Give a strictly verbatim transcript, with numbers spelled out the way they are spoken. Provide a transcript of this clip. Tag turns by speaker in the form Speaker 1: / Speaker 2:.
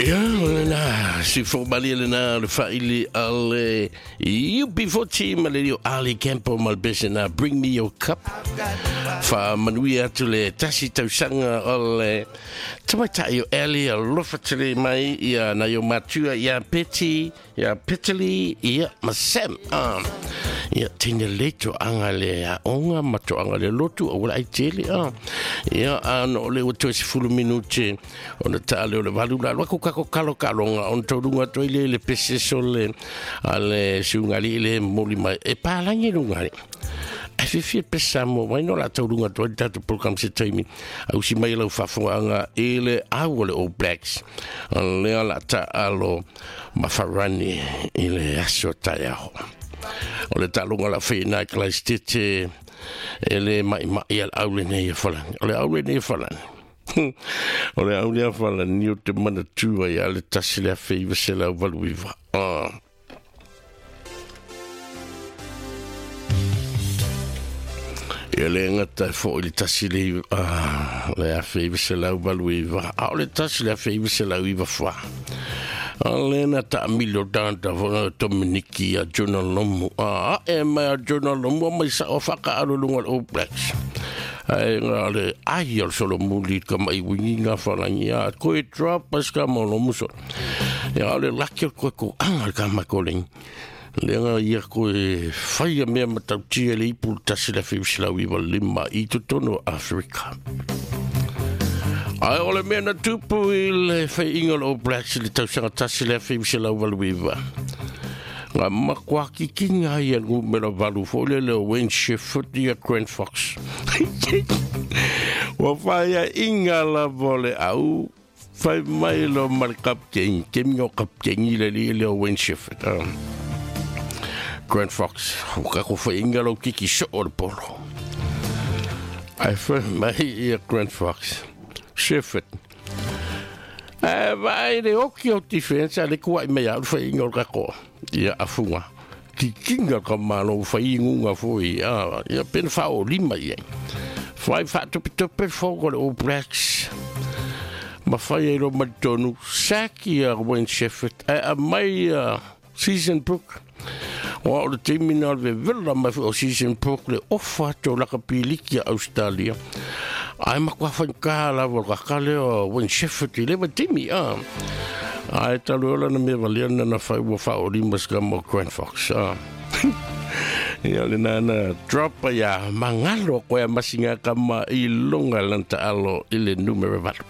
Speaker 1: Ia, o lena si fomali lena le faili ale U B forty ma le lio Ali Campbell ma le pese na Bring Me Your Cup. Fa manuia atu le tasi tausaga o le tamaitai o Ali alofa tele mai ia na yo matua ia Betty ia Petali ia ma Sam. Ah, ia tine le toaga le aoga ma toaga le lotu o ua ai tele. Ah, ia ano o le ua toe sefulu minute ona taale o le valu la lua kako kalo kalonga on tolunga toi le le pese sole ale sungali le moli mai e palangi lunga e fifi pesa mo mai no la tolunga toi tatu program se taimi au si mai lau fafoanga e le au le All Blacks le ala ta alo mafarani i le aso taiaho o le talonga la whenai klaistete e le mai mai al au le nei e falani o le au le nei e falani o le au lea falani o te manatua ia le tasi lea feiva se lau valuiva. Ah. Ia le ngata fo i le tasi le ah, le afe se lau valuiva. A o le tasi le afe se lau iva fwa. A le na ta milo tanta fo Dominiki a Jonah Lomu. A e mai a Jonah Lomu mai sa o whaka alulunga o All Blacks. Ai ngā le ai o solo muli ka mai wingi ngā whalangi a koe drop pas ka mo lomu so. Ia le laki o koe ko anga ka makoling. Le ngā ia koe whaia mea matautia le ipu tasi le whiusilau iwa lima i totono Afrika. Ai o le mea na tupu i le whainga o All Blacks le tausanga tasi le whiusilau waluiwa. Ngā makua kikinga ia ngumera valu fo le le Wayne Shepherd ia Grant Fox. Wa whaia inga la vole au whai mai lo mar kapkengi, kemi o kapkengi le li le Wayne Shepherd. Um, Grant Fox, kako whai inga lo kiki so o le polo. Ai whai mai ia Grant Fox, Shepherd. E vai le oki o defense a le kuai mea au whai inga o kako. Ia afunga. Kikinga ka malo whai ingunga fo ia. Ia pen whao lima ia. Whai whaatope fo le All Blacks. Ma whai e ro matonu. Saki a Wayne Shepherd. E a mai a Season Brook. Wa o le teimina o le vela mai o Season Brook le ofa tō laka piliki a Australia. Ai makua whankaa lava o kakale o Wayne Shepherd i lewa timi. Ah. Ai talu ola na mea waliana na whai ua whao lima ska mo Grant Fox. Ah. Ia le nana dropa ia mangalo koe masinga kama i longa lanta alo i le numere valu.